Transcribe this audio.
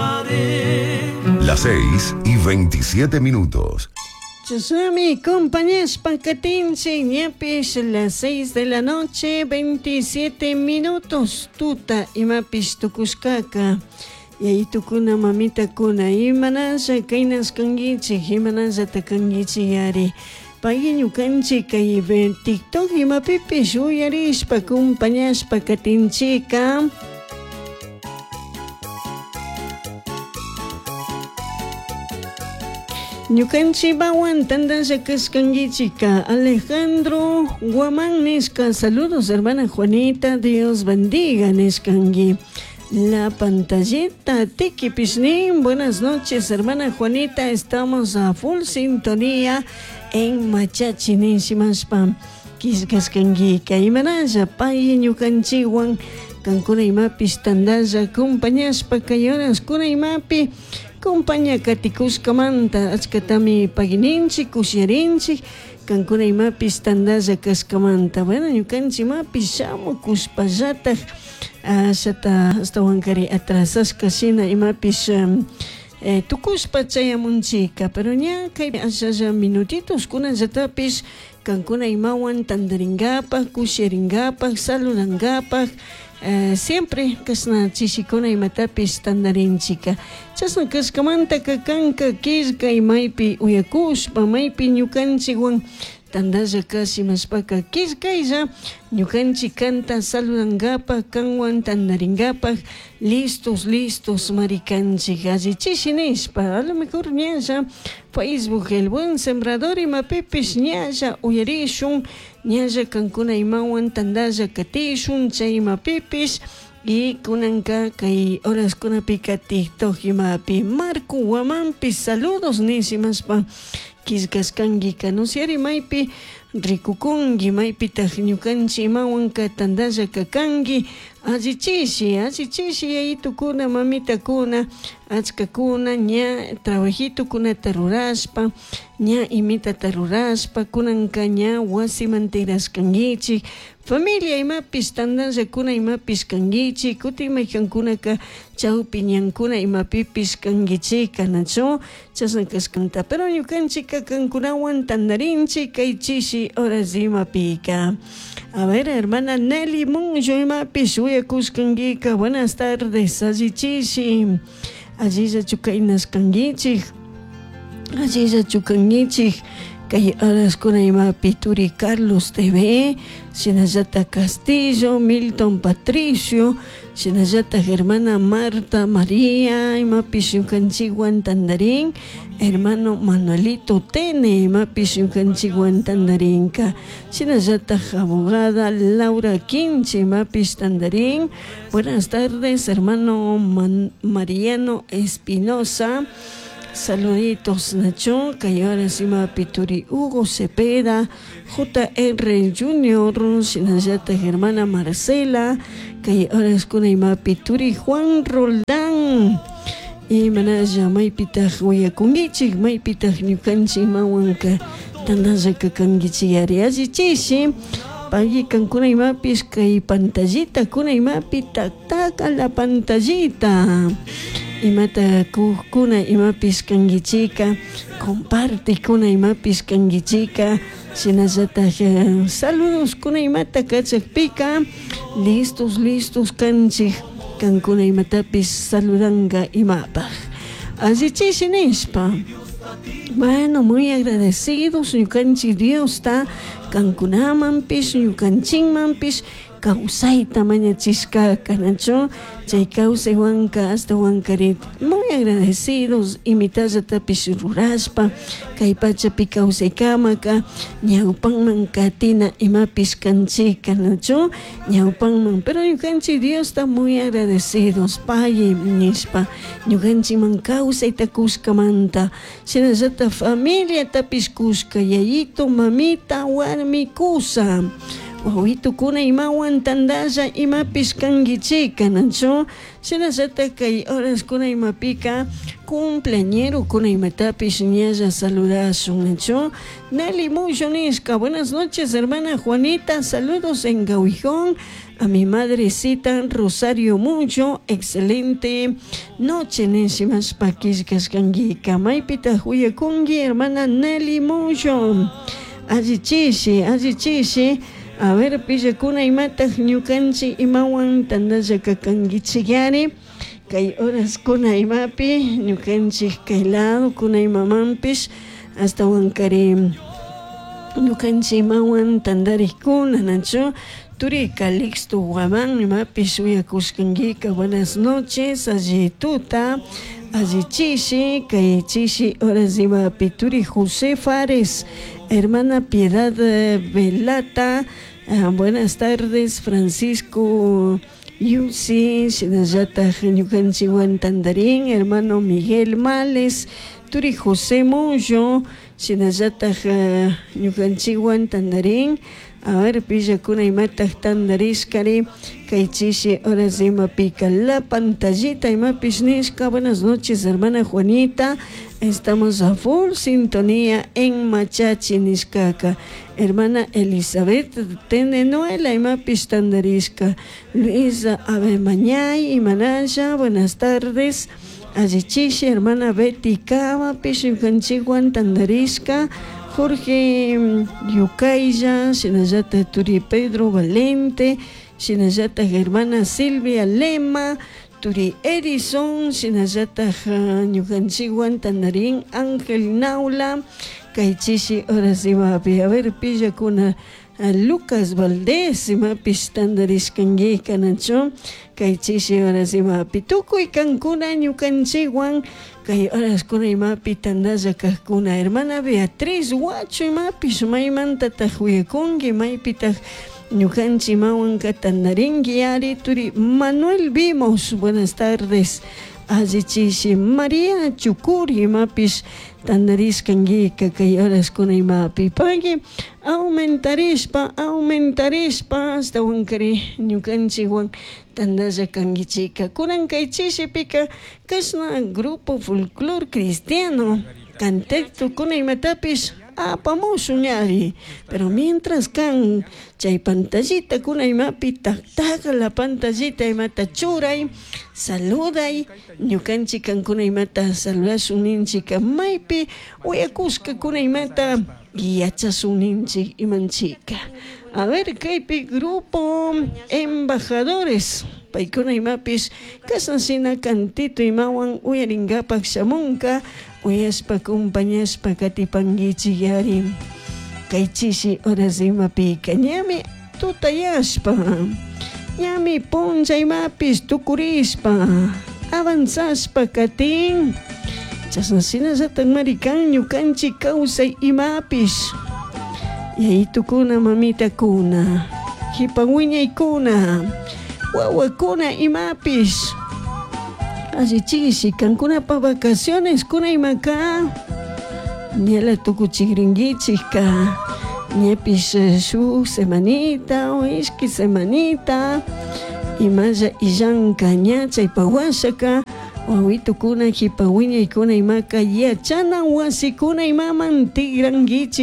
Cantaré. Las 6 y 27 minutos. Chashnami compañashpa katinchik ñapish las 6 de la noche 27 minutos tuta imapish tukushkaka yayitukuna mamitakuna imanasha kaynashkankichik imanashata kankichik yari pay ñukanchik kay TikTok imapipish uyarishpa compañashpa katinchika. Ñukanchikwan tantalla kashkankichika Alejandro Guamán nishka saludos hermana Juanita Dios bendiga nishkanki la pantallita Tiki Pishnin buenas noches hermana Juanita estamos a full sintonía en Machachi nishimashpa killkashkankika imanalla pay ñukanchikwan kankuna imapish tantalla compañashpa kay horaskuna imapi compaña katikushkamanta achkatami pagininchik kushiyarinchik kankuna imapish tantalla kashkamanta bueno ñukanchik imapish shamukushpallatak ashata ashtawankari atrasashka shina imapish tukushpa chayamunchika pero ña kay ashalla minutitos kunallatapish kankuna imawan tantarinkapak kushiyarinkapak saludankapak siempre kashna chishikuna imatapish tantarinchika chashna kashkamantaka kanka killkay maypi uyakushpa maypi ñukanchikwan tantalla kash imashpaka killkaylla ñukanchik kanta saludankapak kanwan tantarinkapak listos listos mari kanchik allichishi nishpa a lo mejor ñalla Facebook El Buen Sembrador imapipish ñalla uyarishun ñalla kankuna imawan tantalla katishun chay imapipish y kunanka kay horaskunapika TikTok imapi Marco Guamanpi saludos nishimashpa killkashkankika nusyari maypi rikukunki maypitak ñukanchik imawanka tantalla kakanki allichishi allichishi yayitukuna mamitakuna achkakuna ña trabajitukunata rurashpa ña imitata rurashpa kunanka ña wasiman tigrashkankichik familia imapish tantallakuna imapish kankichik kutin maykankunaka chawpi ñankuna imapipish kankichika nachu chashna kashkanta pero ñukanchikka kankunawan tantarinchik kay chishi horas imapika. A ver, hermana Nelly Munyo imapish uyakushkankika buenas tardes allichishi allillachu kaynashkankichik allillachu kankichik kay horaskuna imapi turi Carlos TV shinallata Castillo Milton Patricio shinallata hermana Marta María imapish ñukanchikwan tantarin hermano Manuelito Tene imapish ñukanchikwan tantarinka shinallata abogada Laura Quinche imapish tantarin buenas tardes hermano Mariano Espinosa Saluditos Nacho, kay horas imapi turi Hugo Cepeda, JR Junior, shinallata hermana Marcela, kay horas kuna imapi turi Juan Roldán. Imanalla maypitaq wiyakunkichik maypitaq ñukanchik imawanka tantallaka kankichik yari allichishi pagui kankuna imapish kay pantallita kuna imapi taktaka la pantallita imata kukkuna imapish kankichika compartekuna imapish kankichika shinallatak saludos kuna imata kachakpika listos listos kanchik kankuna imatapish saludanka imapaj allichishi nishpa. Bueno, muy agradecidos ñukanchik Diosta kankunamanpish ñukanchikmanpish kawsayta mañachishkaka nachu chay kawsaywanka ashtawankarin muy agradecidos imitallatapish rurashpa kay pachapi kawsaykamaka ñawpanman katina imapish kanchika nachu ñawpanman pero ñukanchik Diosta muy agradecidos pay nishpa ñukanchikman kawsayta kushkamanta shinallata familiatapish kushka yayito mamita warmi kusa wawitukuna imawan tantalla imapish kankichika nachu shinallata kay horaskuna imapika cumpleañerokuna imatapish ñalla saludashun nachu Nelly Muyo nishka buenas noches hermana Juanita saludos en Gauijón. A mi madrecita Rosario Mucho, excelente noche nishimashpa killkashkankika. Maypitaq uyakunki hermana Nelly Mucho? Allichishi, allichishi. A ver, pillakuna imataq ñukanchik imawan tantalla kakankichik kay horaskuna imapi ñukanchik kay lado kuna imamanpish ashtawankari ñukanchik imawan tantarikkuna, nachu? Turi Calixto Guamán imapish uyakushkankika. Buenas noches, alli tuta, alli chishi, kay chishi horas imapi. Turi José Fares, hermana Piedad Velata, buenas tardes, Francisco Yusi, shinallataj ñukanchikwan tantarin hermano Miguel Males, turi José Moyo, shinallataj ñukanchikwan tantarin. A ver, pillakuna imataj tantarishkari kay chishi horas imapika. La pantallita imapish nishka. Buenas noches, hermana Juanita, estamos a full sintonía en Machachi nishkaka. Hermana Elizabeth Tenenuela imapish tantarishka. Luisa Abemañay imanasha, buenas tardes. Allichishi, hermana Betty Kamapish ñukanchikwan tantarishka. Jorge Yucaylla, shinallata turi Pedro Valente, shinallata hermana Silvia Lema, turi Edison, shinallata ñukanchikwan tantarin Ángel Naula, kay chishi horas imapi. A ver, pillakuna, Lucas Valdés imapish tantarishkankika, nachu? Kay chishi horas imapi tukuy kankuna ñukanchikwan kay horaskuna imapi tantalla kajkuna. Hermana Beatriz Huacho imapish, maymantataq uyakunki, maypitaq ñukanchik imawanka tantarinki ari? Turi Manuel Vimos, buenas tardes, allichishi. María Chucuri imapish tantarishkankika kay horaskuna imapi. Pagui aumentarishpa, aumentarishpa ashtawankari ñukanchikwan tantalla kankichika. Kunan kay chishipika kashna grupo folclor cristiano cantecto kuna imatapish apamushun ñari. Pero mientras kan chay pantallita kuna imapi taktaka la pantallita imata churay, saluday ñukanchik kankuna imata saludashun ninchika, maypi uyakushka kuna imata yachashun ninchik imanchika. A ver, kaypi grupo embajadores paykuna imapish kashna shina cantito imawan uyarinkapak shamunka. Uyashpa acompañashpa katipankichik yari. Kay chishi horas imapika ñami tutayashpa, ñami punlla imapish tukurishpa avanzashpa katin. Chashna shinallatak marikan ñukanchik kawsay imapish, yayitukuna, mamitakuna, jipa wiñaykuna, wawakuna imapish, allichishi kankunapa vacaciones kuna imaka ñala tukuchikrinkichikka, ñapish shuk semanita o ishki semanita imalla illanka. Ña chaypa washaka wawitukuna jipa wiñaykuna imaka yachana wasikuna imaman tikrankichik.